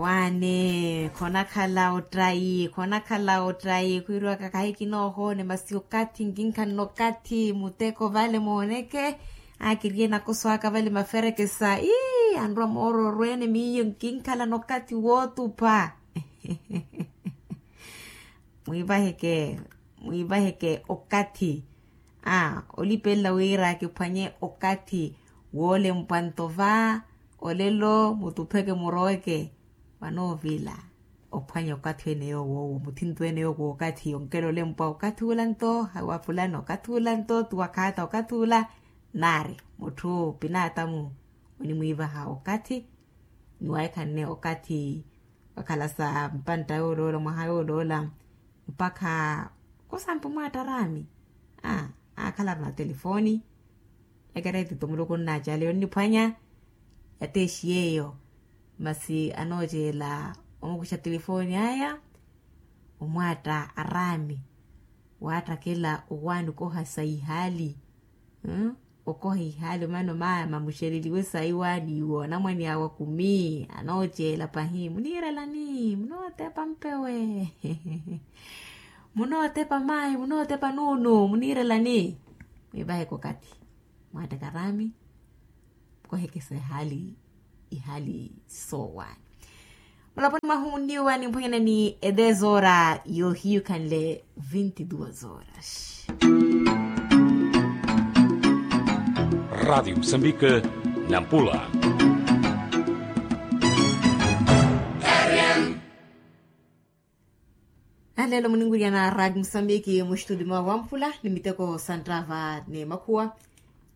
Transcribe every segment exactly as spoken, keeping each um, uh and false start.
Waani khonakhala ottayi khonakhala ottayi khwiiriwaka kahi kinoohoone masi okathi nkinkhanna okathi muteko vale mooneke. Aakiriye nakoso aka vale maferekesa ii anrwa moororweene miyo nkinkhalana okathi wootupha. Mwiivaheke mwiivaheke okathi. Aa olipelela wira kiphwanye okathi woolempwa nto va olelo mutupheke muroweke. Vanoovila ophwanya okathi ene yoowo owo muthinto ene yoowo okathi onkela olempwa okathi ula nto hawapulana okathi ula nto tuwakhaata okathi ula. Naari mutthu pinaatamu onimwiivaha okathi. Niwaikhanne okathi wakhala sa mpantta yooloola mwaha yooloola. Mpakha kosampa omwaatta araami. Aa aakhala arina telefoni. Ekereetito muluku onnaacaale yonniphwanya. Yateexiye eyo masi anooceela omukuxa telefoni aya. Omwaatta araami waattakela owaani okoha sa ihaali. Okoha ihaali omano maaya mamuxereliwe sayi waani iwo anamwane awe akumi anooceela pahi muniirelani munootepa mpewe. Munootepa mayi munootepa nuunu muniirelani. Mwiivaheke okathi mwaattaka araami. Kohekesa ihaali ihaali soowaani. Mulaponi mwahu munniwa nimphwenyana ni edez hora yohiyukhanle vinti duas horas. Rádio Moçambique, Nampula. Alelo muninwiriyana radi musambiki muxitudi mwa wamphula ni miteko santtava ni makhuwa.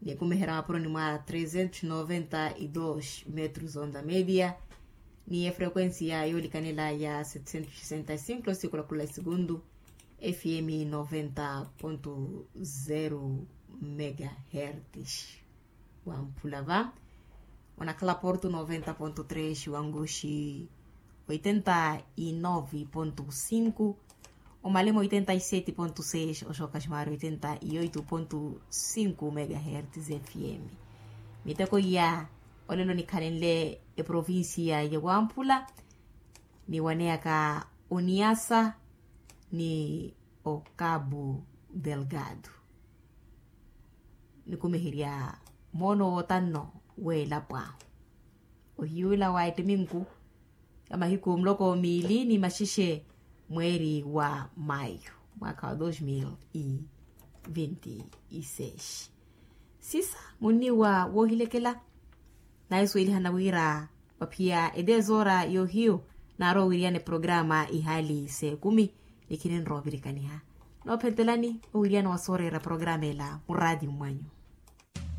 Nikumeherya mapuroni mwa trezentos noventa y dos metros onda media. Ni efrequencia yolikanela ya setecentos sessenta y cinco sikulakhula isegundu. Fm noventa ponto zero megahertz. Wamphula va onakhala porto noventa ponto tres wanguxi oitenta y nove ponto cinco. Omalema oitenta y sete ponto seis oxoka ximari oitenta y oito ponto cinco megahertz fm. Miteko iya olelo nikhalenle eprovincia ya wamphula niwaneyaka oniasa ni ocabo delgado. Nikumeherya moono wootanno weelapwa ohiyuula wa ettiminku ya mahiku muloko miili ni maxexe mweeri wa mayu mwaakha wa dos mil e vinte e seis. Sisa munniwa woohilekela naisuwelihana wira waphiya eteesora yoohiyu naarowa owiriyana eprograma ihaali s'ekumi. Nikhininrowa ovirikaniha noophentelani owiriyana wa sooreera programa ela muraatiyo mwanyu.